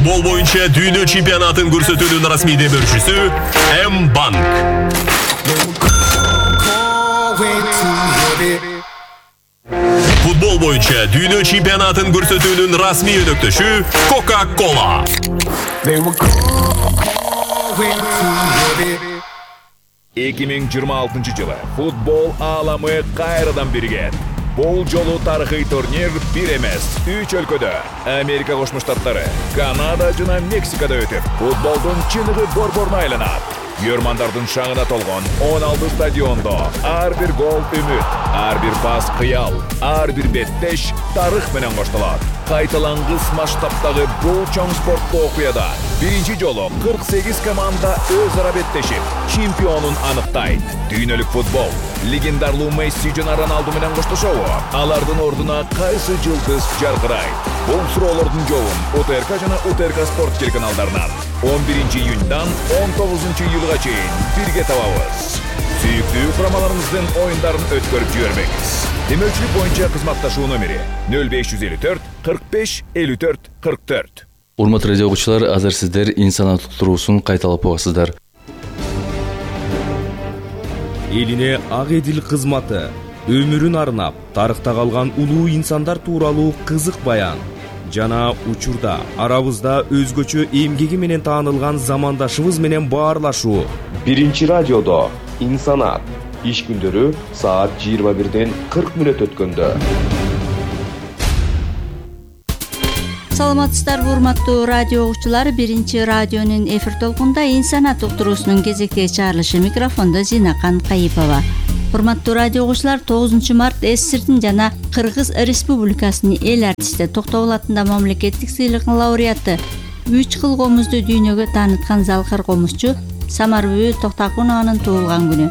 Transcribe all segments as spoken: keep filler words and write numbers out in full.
Футбол боюнча дүйнө чемпионатын көрсөтүүнүн расмий демөөрчүсү М-банк. Футбол боюнча дүйнө чемпионатын көрсөтүүнүн расмий өнөктөшү Coca-Cola. эки миң жыйырма алтынчы жылы футбол ааламы кайрадан биригет. Бул жолу тарыхый турнир бир эмес, үч өлкөдө, Америка Кошмо Штаттары, Канада жана Мексикада өтүп, футболдун чыныгы борборуна айланат. Көрмандардын шаңына толгон он алты стадиондо ар бир гол үмүт, ар бир пас кыял, ар бир беттеш тарых менен коштолот. Кайталангыс масштабтагы бул чоң спорттуу окуяда биринчи жолу кырк сегиз команда өз ара беттешип, чемпионун аныктайт. Дүйнөлүк футбол легендарлуу Месси жана Роналду менен коштошобу? Алардын ордуна кайсы жылдыз жаркырайт? Бул суроолордун жообун УТРК жана УТРК спорт телеканалдарынан он биринчи июньдан он тогузунчу июлга чейин бирге табабыз. Сүйүктүү курамаларыбыздын оюндарын өткөрүп жибербеңиз. Демөөрчүлүк боюнча кызматташуу номери нөл беш жүз элүү төрт кырк беш элүү төрт кырк төрт. Урматтуу радио окуучулар, азыр сиздер инсанат уктуруусун кайталап угасыздар. Элине ак эдил кызматы, өмүрүн арнап, тарыхта калган улуу инсандар тууралуу кызык баян жана учурда арабызда өзгөчө эмгеги менен таанылган замандашыбыз менен баарлашуу. Биринчи радиодо инсанат иш күндөрү саат жыйырма бирден кырк мүнөт өткөндө. Саламатсыздарбы урматтуу радио угуучулар, биринчи радионун эфир толкунда инсанат уктуруусунун кезектеги чыгарылышы, микрофондо Зинакан Кайыпова. Урматтуу радио угуучулар, тогузунчу март СССРдин жана Кыргыз Республикасынын эл артисти, Токтогул атында мамлекеттик сыйлыгынын лауреаты, үч кыл комузду дүйнөгө тааныткан залкар комузчу Самарбүбү Токтакунованын туулган күнү.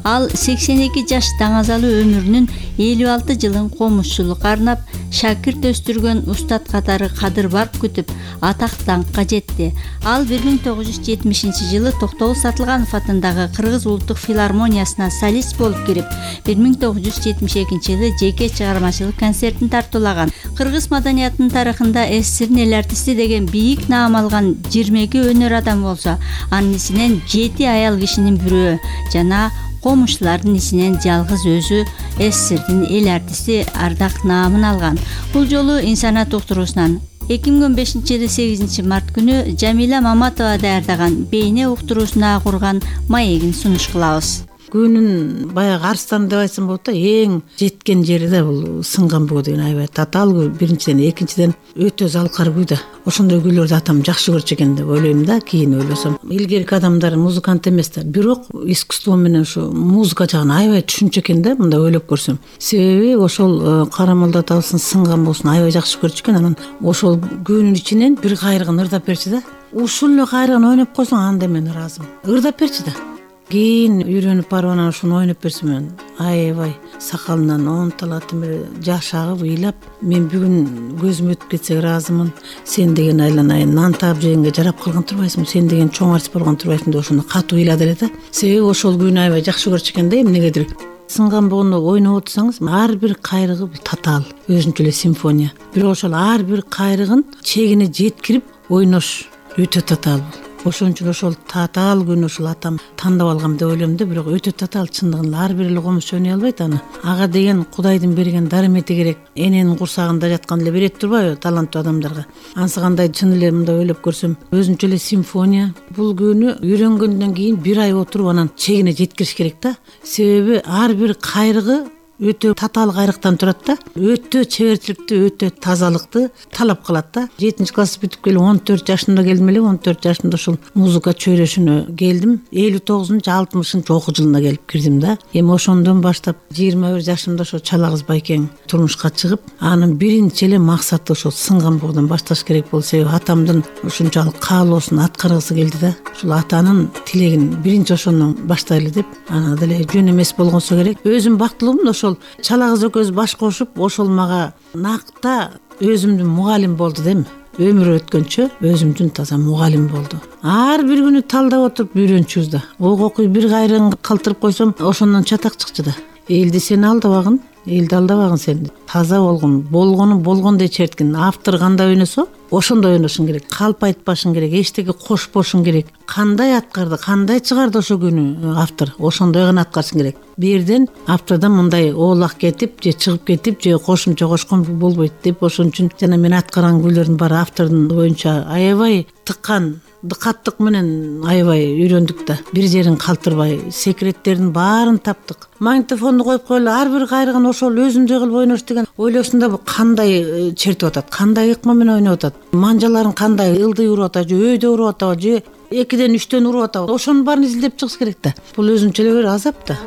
Ал сексен эки жаш даңазалуу өмүрүнүн элүү алты жылын комузчулукка арнап, шакирт өстүргөн устат катары кадыр барк күтүп, атак даңкка жетти. Ал бир миң тогуз жүз жетимишинчи жылы Токтогул Сатылганов атындагы Кыргыз улуттук филармониясына солист болуп кирип, бир миң тогуз жүз жетимиш экинчи жылы жеке чыгармачылык концертин тартуулаган. Кыргыз маданиятынын тарыхында СССРдин эл артисти деген бийик наам алган жыйырма эки өнөр адам болсо, анын ичинен жети аял кишинин бирөө жана комушчулардын ичинен жалгыз өзү СССРдин эл артисти ардак наамын алган. Бул жолу инсанат уктуруусунан эки миң он бешинчи жылы сегизинчи март күнү Жамиля Маматова даярдаган бейне уктуруусуна курган маегин сунуш кылабыз. Күнүн баягы Арстан деп айтсам болот да, эң жеткен жери да бул сынган буу деген аябай татаал күй. Биринчиден, экинчиден өтө залкар күй да. Ошондой күйлөрдү атам жакшы көрчү экен деп ойлойм да, кийин ойлосом. Илгерки адамдар музыкант эмес да, бирок искусство менен ушу музыка жагын аябай түшүнчү экен да, мындай ойлоп көрсөм. Себеби ошол Карамолдо атабыздын сынган буусун аябай жакшы көрчү экен. Анан ошол күнүн ичинен бир кайрыгын ырдап берчи да. Ушул эле кайрыгын ойноп койсоң, анда мен ыраазымын. Ырдап берчи да. Кийин үйрөнүп барып анан ушуну ойноп берсем, мен аябай сакалынан онталат эле жаш агып ыйлап, мен бүгүн көзүм өтүп кетсе ыраазымын. Сен деген айланайын, нан таап жегенге жарап калган турбайсың, сен деген чоң артист болгон турбайсың деп ошону катуу ыйлады эле да. Себеби ошол күйүнү аябай жакшы көрчү экен да, эмнегедир. Сынган боону ойноп отурсаңыз, ар бир кайрыгы татаал, өзүнчө эле симфония. Бирок ошол ар бир кайрыгын чегине жеткирип ойнош өтө татаал. Ошон үчүн ошол татаал күнү ушул атам тандап алгам деп ойлойм да, бирок өтө татаал чындыгында ар бир эле комузчу ойной албайт аны. Ага деген Кудайдын берген дарымети керек. Эненин курсагында жаткан эле берет турбайбы таланттуу адамдарга. Ансы кандай чын эле мындай ойлоп көрсөм, өзүнчө эле симфония. Бул күнү үйрөнгөндөн кийин бир ай отуруп анан чегине жеткириш керек да. Себеби ар бир кайрыгы өтө татаал кайрыктан турат да, өтө чеберчиликти, өтө тазалыкты талап кылат да. жетинчи класс бүтүп келип он төрт жашымда келдим эле, он төрт жашымда ушул музыка чөйрөшүнө келдим. элүү тогузунчу алтымышынчы окуу жылына келип кирдим да. Эми ошондон баштап жыйырма бир жашымда ошо Чала кыз байкең турмушка чыгып, анын биринчи эле максаты ошол сынган буудан башташ керек болду. Себеби атамдын ушунчалык каалоосун аткаргысы келди да. Ушул атанын тилегин биринчи ошондон баштайлы деп, ана деле жөн эмес болгонсо керек. Өзүм бактылуумун, ошол Чала кыз экөөбүз баш кошуп, ошол мага накта өзүмдүн мугалим болду дейм. Өмүр өткөнчө өзүмдүн таза мугалим болду. Ар бир күнү талдап отуруп үйрөнчүбүз да. Ок окуй бир кайрыгын калтырып койсом, ошондон чатак чыкчу да. Элди сен алдабагын, элди алдабагын сен. Таза болгон, болгону болгондой черткин. Автор кандай ойносо, ошондой ойношуң керек. Калп айтпашың керек, эчтеке кошпошуң керек. Кандай аткарды, кандай чыгарды ошо күнү автор, ошондой гана аткарышың керек. Бирден автордон мындай оолак кетип, же чыгып кетип, же кошумча кошкон болбойт деп, ошон үчүн жана мен аткарган күйлөрдүн баары автордун оюнча аябай тыккан, дыкаттык менен аябай үйрөндүк да. Бир жерин калтырбай, секреттердин баарын таптык. Магнитофонду коюп коелу, ар бир кайрыгын ошол өзүндөй кылып ойнош деген ойлосун да, кандай чертип атат, кандай ыкма менен ойноп атат, манжаларын кандай ылдый уруп атат, же өйдө уруп атабы, же экиден үчтөн уруп атабы, ошонун баарын изилдеп чыгыш керек да. Бул өзүнчө эле бир азап да.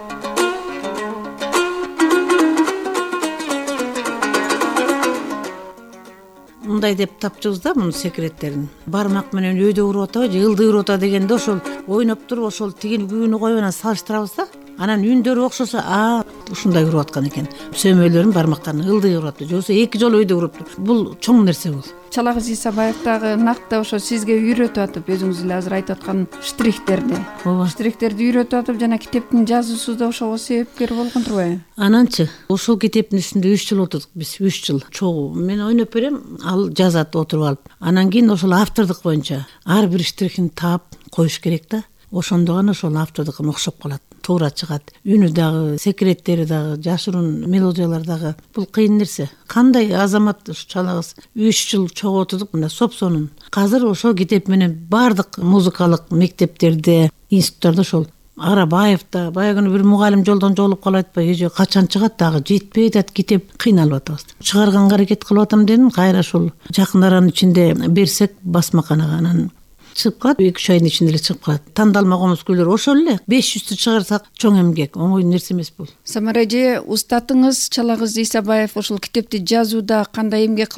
Мындай деп тапчыбыз да мунун секреттерин. Бармак менен өйдө уруп атабы, же ылдый уруп атабы дегенде ошол ойноп туруп ошол тигини күбүнү коюп анан салыштырабыз да. Анан үндөрү окшосо, а ушундай уруп аткан экен. Сөмөлөрүн бармактарын ылдый уруп атты, же болбосо эки жолу өйдө уруп. Бул чоң нерсе бул. Чалагыз Исабаев дагы накта ошо сизге үйрөтүп атып, өзүңүз эле азыр айтып аткан штрихтерди. Ооба. Штрихтерди үйрөтүп атып, жана китептин жазуусу да ошого себепкер болгон турбайбы? Ананчы ошол китептин үстүндө үч жыл отурдук биз, үч жыл. Чогуу мен ойноп берем, ал жазат отуруп алып. Анан кийин ошол автордук боюнча ар бир штрихин таап коюш керек да. Ошондо гана ошол автордукуна окшоп калат, туура чыгат. Үнү дагы, секреттери дагы, жашыруун мелодиялар дагы. Бул кыйын нерсе. Кандай азамат ушу чалагыз үч жыл чогуу отурдук мына сопсонун. Азыр ошол китеп менен бардык музыкалык мектептерде, институттордо ошол Арабаев да баягы бир мугалим жолдон жолуп калып атпайбы, же качан чыгат дагы жетпей атат китеп, кыйналып атабыз. Чыгарганга аракет кылып атам дедим, кайра ошол жакын аранын ичинде берсек басмаканага, анан чыгып калат, эки үч айдын ичинде эле чыгып калат. Тандалма комуз күйлөр ошол эле беш жүздү чыгарсак чоң эмгек, оңой нерсе эмес бул. Самара эже, устатыңыз Чалагыз Исабаев ошол китепти жазууда кандай эмгек кылган